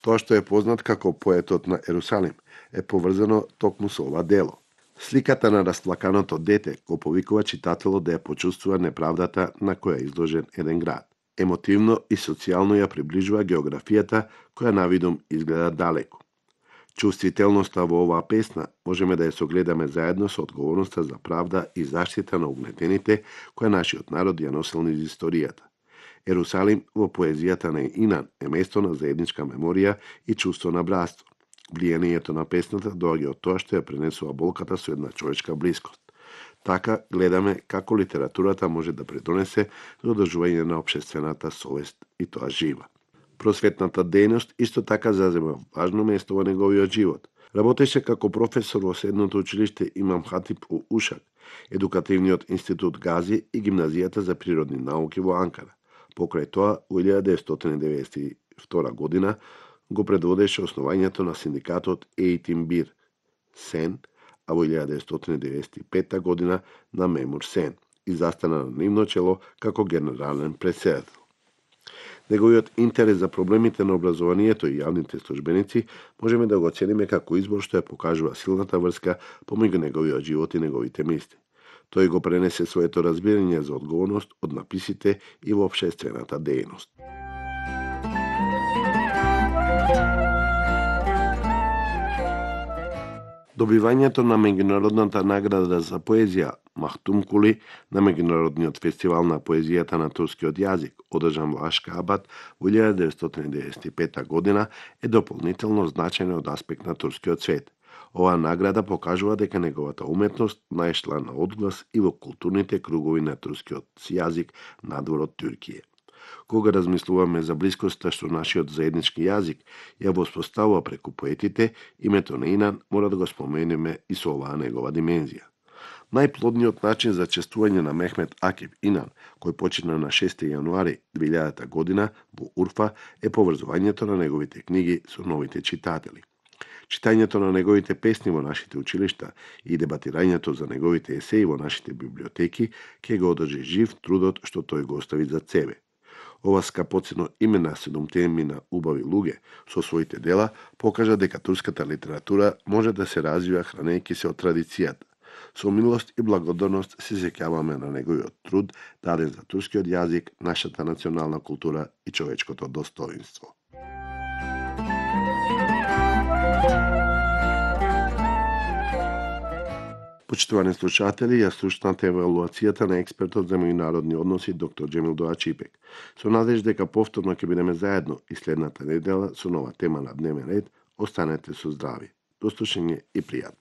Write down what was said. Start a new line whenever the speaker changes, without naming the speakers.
Тоа што е познат како поетот на Ерусалим е поврзано токму со ова дело. Сликата на расплаканото дете го повикува читателот да ја почувствува неправдата на која е изложен еден град. Емотивно и социјално ја приближува географијата која навидум изгледа далеку. Чувствителноста во оваа песна можеме да ја согледаме заедно со одговорноста за правда и заштита на угнетените која нашиот народ ја носел низ историјата. Ерусалим во поезијата на Инан е место на заедничка меморија и чувство на братство. Влијанието на песната доаѓа од тоа што ја пренесува болката со една човечка блискост. Така гледаме како литературата може да придонесе до одржување на општествената совест и тоа жива. Просветната дејност исто така зазема важно место во неговиот живот. Работеше како професор во Средното училиште Имам Хатип у Ушак, Едукативниот институт Гази и Гимназијата за природни науки во Анкара. Покрај тоа, во 1992 година го предводеше основањето на синдикатот Ейтим Бир Сен, а во 1995 година на Мемур Сен и застана на нивно чело како генерален председател. Неговиот интерес за проблемите на образованието и јавните службеници можеме да го оцениме како избор што ја покажува силната врска помеѓу неговиот живот и неговите мисли. Тој го пренесе своето разбирање за одговорност од написите и во општествената дејност. Добивањето на меѓународната награда за поезија Махтум Кули на меѓународниот фестивал на поезијата на турскиот јазик, одржан во Ашкабад во 1995 година, е дополнително значајна од аспект на турскиот свет. Оваа награда покажува дека неговата уметност најшла на одглас и во културните кругови на турскиот јазик надвор од Туркија. Кога размислуваме за блискоста што нашиот заеднички јазик ја воспоставува преку поетите, името на Инан мора да го споменеме и со оваа негова димензија. Најплодниот начин за честување на Мехмет Акиф Инан, кој почина на 6 јануари 2000 година во Урфа, е поврзувањето на неговите книги со новите читатели. Читањето на неговите песни во нашите училишта и дебатирањето за неговите есеи во нашите библиотеки ќе го одржи жив трудот што тој го остави за себе. Ова скапоцено име на 7 убави луѓе со своите дела покажа дека турската литература може да се развива хранејќи се од традицијата. Со милост и благодарност се сеќаваме на неговиот труд даден за турскиот јазик, нашата национална култура и човечкото достоинство. Почитувани слушатели, ја слушнате евалуацијата на експертот за меѓународни односи доктор Џемил Доачипек. Со надеж дека повторно ќе бидеме заедно и следната недела со нова тема на дневен ред, останете со здрави. До слушање и пријатно.